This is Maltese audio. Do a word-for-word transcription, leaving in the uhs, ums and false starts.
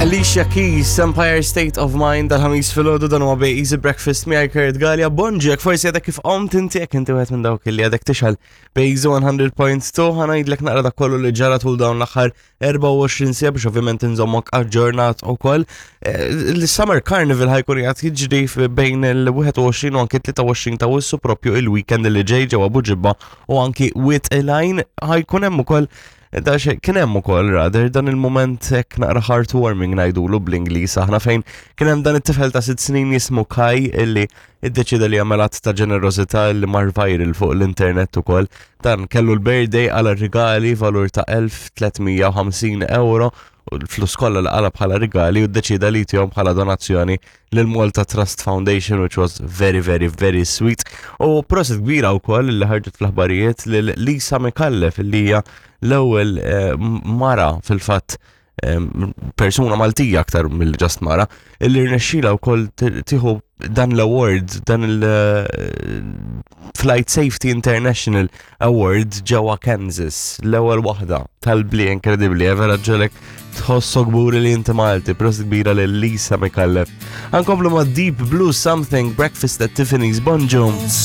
Alicia Keys, Empire State of Mind, dal-Ħamis filgħodu, dan huwa Bej Easy Breakfast miegħi Kurt Galea. Bonġu, jekk forsi għadek kif qomt inti, jekk inti wieħed minn dawk li għadek tixgħel Bejzu mija punt tnejn, ħa ngħidlek naqra dak kollu li ġara tul dawn l-aħħar erbgħa u għoxrin siegħa biex ovvjament inżommok aġġornat ukoll. Eh, Il-Summer Carnival ħa jkun qiegħed jiġri bejn il-wieħed u għoxrin u anki tlieta u għoxrin ta' Awwissu, propju il-weekend li ġej, ġewwa Buġibba u anki Wied il-Għajn. Ħa jkun hemm ukoll da xe, kien hemm ukoll rather dan il-moment hekk naqra heartwarming ngħidulu bl-Ingliż aħna, fejn kien hemm dan it-tifel ta' sitt snin jismu Kai illi iddeċida li jagħmel att ta' ġenerożità li mar viral fuq l-internet ukoll. Dan kellu l-birthday, għal rigali valur ta' elf u tliet mija u ħamsin euro u l-flus kollha li qala bħala rigali u ddeċida li jtihom bħala donazzjoni lil Malta Trust Foundation, which was very, very, very sweet. U prosit kbira wkoll li ħarġet fl-aħbarijiet lil Lisa Micallef, li hija l-ewwel eh, mara, fil-fatt em, persuna Maltija aktar mill just mara, illi rnexxila wkoll tieħu dan l-award, dan il-Flight Safety International Award ġewwa Kansas, l-ewwel waħda tal-bli inkredibbli, eh, vera ġġegħlek tħossok kburi li inti Malti. Prosit kbira lil Lisa Micallef. Ħa nkomplu ma' Deep Blue Something, Breakfast at Tiffany's, bonġu.